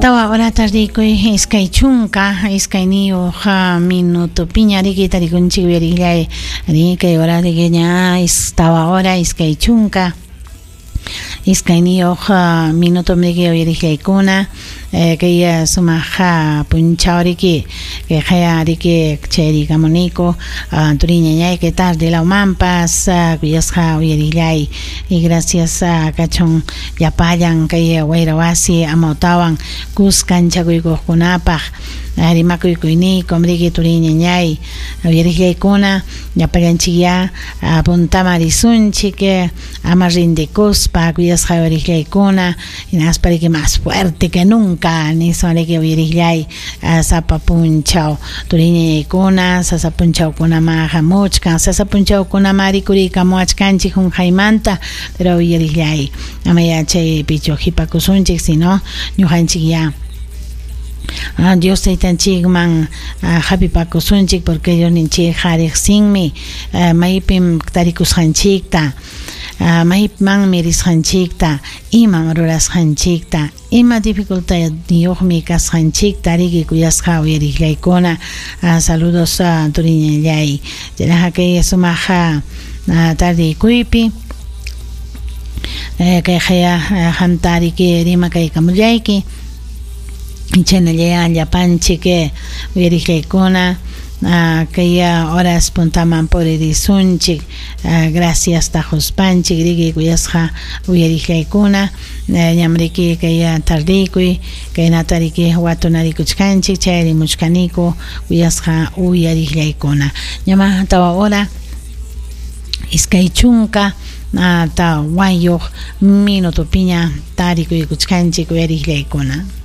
Tawa horata rikuy 22 minutopiña riki tarikunchik uyariqllay ri kay hora riki ña tawa hora 22 minuto riki uyariqllaykuna kay sumaq punchaw riki kay qaya riki chayrikamuniku turiñañay kay tarde lawmanpas kuyasqa uyariqllay y gracias kachun llapallan kay wayra wasi amawtawan kuskanchakuykuqkunapaq rimakuykuynikum riki turiñañay uyariqllaykuna llapallanchikyá puntaman risunchik ama rindikuspa kuyasqa uyariqllaykuna hinaspa riki más fuerte que nunca niswan riki uyariqllay sapa punchaw turiñañaykuna sasa punchawkunama hamuchkan sasa punchawkunama rikuriykamuwachkanchik qunqaymanta pero uyariqllay amaya chaypichu qipakusunchik sino ñuqanchikyá Dios taytanchikman hapipakusunchik porque Diosninchikqa riqsinmi maypim tarikusqanchikta maymanmi risqanchikta imam rurasqanchikta ima dificultadniyuqmi kasqanchikta riki kuyasqa uyariqllaykuna saludos turiñallay chaynaqa kay sumaq tardeykuypi kay qaya qamta riki rimakaykamullayki chaynallaya llapanchik uyariqllaykuna kay horas puntaman puririsunchik gracias taquspanchik riki kuyasqa uyariqllaykuna ñam riki kay tardeykuy kaynata riki watunarikuchkanchik chayarimuchkaniku kuyasqa uyariqllaykuna ñama 4 hora 24 minutopiña tarikuykuchkanchik uyariqllaykuna.